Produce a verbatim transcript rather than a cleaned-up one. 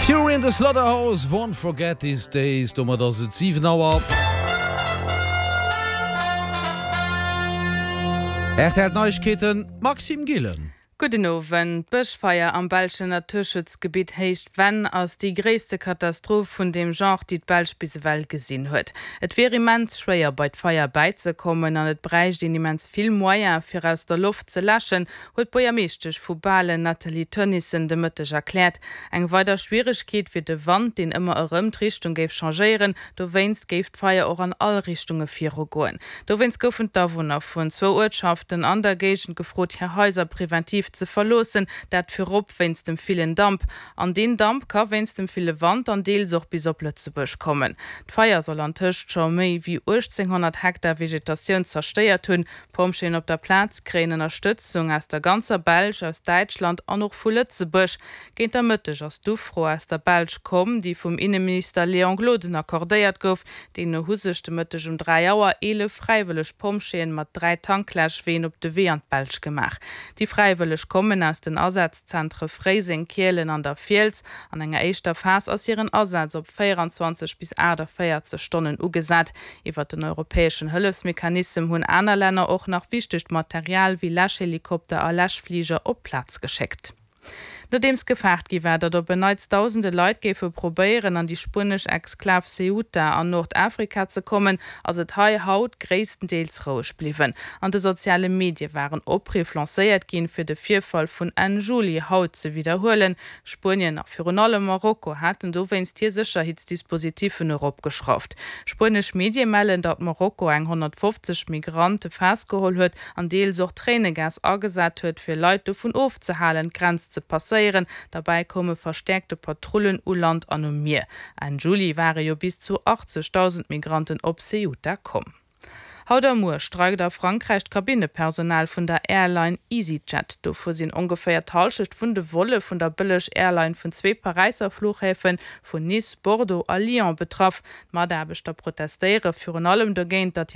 Fury in the Slaughterhouse, Won't Forget These Days, domat ass et siwen Auer. R T L Neiegkeeten, Maxime Gillen. Gudden Owend. D'Bëschfeier am belschen Naturschutzgebitt Héicht Venn ass déi gréisste Katastroph vun deem Genre, déi d'Belsch bis ewell gesinn huet. Et wier immens schwéier bei d'Feier bäizekommen an et bräicht een immens vill Moyen fir aus der Loft ze läschen, huet d'Buergermeeschtesch vu Balen Nathalie Teunissen de Mëtteg erkläert. Eng weider Schwieregkeet wier de Wand, deen ëmmer erëm d'Richtung géif changéieren. Dowéinst géif d'Feier och an all Richtunge virugoen. Dowéinst goufen d'Awunner vun zwou Uertschaften an der Géigend gefrot, hir Haiser preventiv ze verloossen, dat virop wéinst dem villen Damp. An deen Damp ka wéinst dem ville Wand dann deels och bis op Lëtzebuerg kommen. D'Feier soll antëscht scho méi wéi uechtzénghonnert Hektar Vegetatioun zerstéiert hunn. D'Pompjeeën op der Plaz kréien Ënnerstëtzung aus der ganzer Belsch, aus Däitschland an och vu Lëtzebuerg. Géint der Mëtteg ass d'Ufro aus der Belsch komm, déi vum Inneminister Léon Gloden accordéiert gouf. Deemno hu sech de Mëtteg um dräi Auer eelef fräiwëlleg Pompjeeën mat dräi Tankläschween op de Wee an d'Belsch gemaach. Déi Fräiwëlleg kommen aus den Asazzentre Fréiseng, Kielen an der Fiels. An enger éischter Phas ass hiren Asaz op véieranzwanzeg bis aachtavéierzeg Stonnen ugesat. Iwwer den europäeschen Hëllefsmechanissem hunn aner Länner och nach wichtegt Material wéi Läschhelikopter a Läschfliger op d'Plaz geschéckt. Nodeems gefaart gi war, datt op en Neits dausende Leit géife probéieren, an déi spuenesch Exklav Ceuta an Nordafrika ze kommen, ass et hei haut gréisstendeels roueg bliwwen. An de soziale Medie waren Opriff lancéiert ginn, fir de Virfall vun Enn Juli haut ze widderhuelen. Spuenien a virun allem Marokko haten dowéinst hir Sécherheetsdispositiffen eropgeschrauft. Spuenesch Medie mellen, datt Marokko eng honnertfofzeg Migrante festgeholl huet an deels och Tréinegas agesat huet, fir Leit dovun ofzehalen, d'Grenz ze passéieren. Derbäi koume verstäerkte Patrullen u Land an um Mier. Enn Juli ware jo bis zu achtzegdausend Migranten op Ceuta komm. Haut a muer streikt a Frankräich d'Kabinnepersonal vun der Airline EasyJet. Dovu sinn ongeféier d'Hallschecht vun de Volle vun der Bëlleg-Airline vun zwee Paräisser Fluchhäfen, vun Nice, Bordeaux a Lyon betraff. D'Mataarbechter protestéiere virun allem dogéint, datt hir